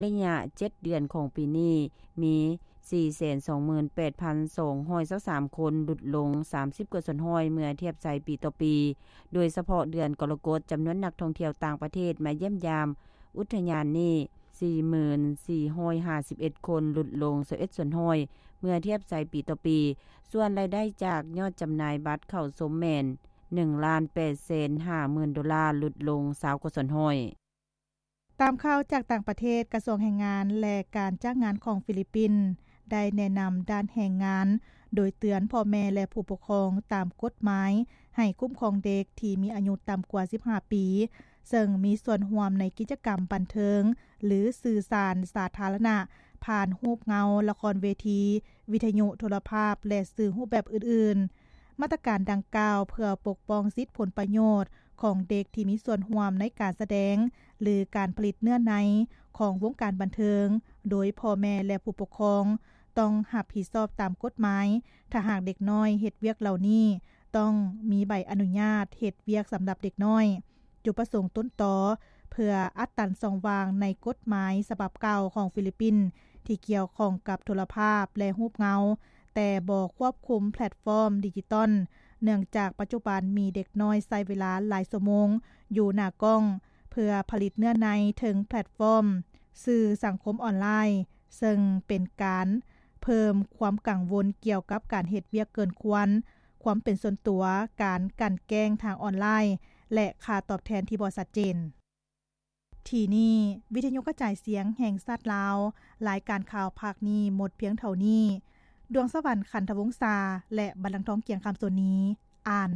ໄລຍະເຈັດເດືອນຂອງປີນີ້ ມີສີ່ແສນສອງໝື່ນແປດພັນສອງຮ້ອຍຊາວສາມຄົນ ຫຼຸດລົງສາມສິບກວ່າສ່ວນຮ້ອຍ ເມື່ອທຽບໃສ່ປີຕໍ່ປີ. ໂດຍສະເພາະເດືອນກໍລະກົດ ຈຳນວນນັກທ່ອງທ່ຽວຕ່າງປະເທດມາຢ້ຽມຢາມອຸທະຍານນີ້ ສີ່ໝື່ນສີ່ຮ້ອຍຫ້າສິບເອັດຄົນ ຫຼຸດລົງຊາວເອັດສ່ວນຮ້ອຍ ເມື່ອທຽບໃສ່ປີຕໍ່ປີ. ສ່ວນລາຍໄດ້ຈາກຍອດຈຳໜ່າຍບັດເຂົ້າຊົມແມ່ນ ໜຶ່ງລ້ານແປດແສນຫ້າໝື່ນໂດລາ ຫຼຸດລົງຊາວກວ່າສ່ວນຮ້ອຍ. ຕາມຂ່າວຈາກຕ່າງປະເທດ, ກະຊວງແຮງງານ ແລະ ການຈ້າງງານຂອງຟີລິບປິນ ໄດ້ແນະນຳດ້ານແຮງງານ ໂດຍເຕືອນພໍ່ແມ່ ແລະ ຜູ້ປົກຄອງຕາມກົດໝາຍ ໃຫ້ຄຸ້ມຄອງເດັກທີ່ມີອາຍຸຕ່ຳກວ່າສິບຫ້າປີ ເຊິ່ງມີສ່ວນຮ່ວມໃນກິດຈະກຳບັນເທີງ ຫຼື ສື່ສານສາທາລະນະ ຜ່ານຮູບເງົາ, ລະຄອນເວທີ, ວິທະຍຸໂທລະພາບ ແລະ ສື່ຮູບແບບອື່ນໆ. ມາດຕະການດັ່ງກ່າວເພື່ອປົກປ້ອງສິດຜົນປະໂຫຍດຂອງເດັກທີ່ມີສ່ວນຮ່ວມໃນການສະແດງ ຫຼື ການຜະລິດເນື້ອໃນຂອງວົງການບັນເທີງ ໂດຍພໍ່ແມ່ ແລະ ຜູ້ປົກຄອງຕ້ອງຮັບຜິດຊອບຕາມກົດໝາຍ. ຖ້າຫາກເດັກນ້ອຍເຮັດວຽກເຫຼົ່ານີ້ ຕ້ອງມີໃບອະນຸຍາດເຮັດວຽກສຳລັບເດັກນ້ອຍ. ຈຸດປະສົງຕົ້ນຕໍເພື່ອອັດຕັນຊ່ອງວ່າງໃນກົດໝາຍສະບັບເກົ່າຂອງຟີລິບປິນ ທີ່ກ່ຽວຂ້ອງກັບໂທລະພາບ ແລະ ຮູບເງົາ ແຕ່ບໍ່ຄວບຄຸມແພລດຟອມດິຈິຕອນ ເນື່ອງຈາກປັດຈຸບັນມີເດັກນ້ອຍໃຊ້ເວລາຫຼາຍຊົ່ວໂມງຢູ່ໜ້າກ້ອງ ເພື່ອຜະລິດເນື້ອໃນເທິງແພລດຟອມສື່ສັງຄົມອອນລາຍ, ເຊິ່ງເປັນການເພີ່ມຄວາມກັງວົນກ່ຽວກັບການເຮັດວຽກເກີນຄວນ, ຄວາມເປັນສ່ວນຕົວ, ການກັ່ນແກ້ງທາງອອນລາຍ ແລະ ຄ່າຕອບແທນທີ່ບໍ່ຊັດເຈນ. ທີ່ນີ້ ວິທະຍຸກະຈາຍສຽງແຫ່ງຊາດລາວ, ລາຍການຂ່າວພາກນີ້ໝົດພຽງເທົ່ານີ້. ດວງສະຫວັນ ຂັນທະວົງສາ ແລະ ບັນລັງທອງ ກຽງຄຳໂສນນີ ອ່ານ.